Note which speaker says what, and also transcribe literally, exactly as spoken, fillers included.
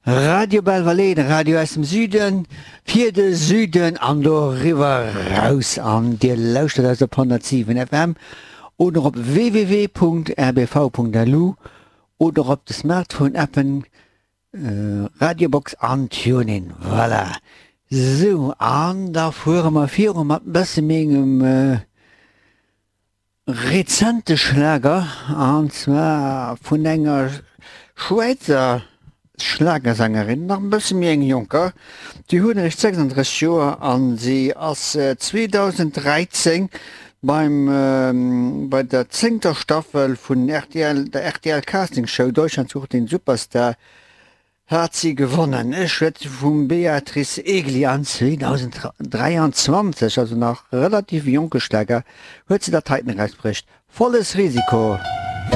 Speaker 1: Radio Belval, de Radio aus dem Süden, fir de Süden an doriwwer raus. An Dir lauschtert eis op honnertsiwen F M oder op W W W Punkt R B V Punkt L U oder op de Smartphone-Appen Radiobox an TuneIn. Voilà. Sou, an da fuere mer viru mat e bësse méi engem rezente Schlager, an zwar vun enger Schwäizer Schlagersängerin, nach e bësse méi eng jonker, déi huet eréischt sechsanddrësseg Joer an si ass zweedausend dräizéng beim bei der zéngter Staffel vun R T L, der R T L Casting Show Deutschland sucht den Superstar, hat si gewonnen. Ech schwätze vum Beatrice Egli an zweedausend dräianzwanzeg, also nach relativ jonke Schlager, huet se dat heiten erausbruecht, Volles Risiko.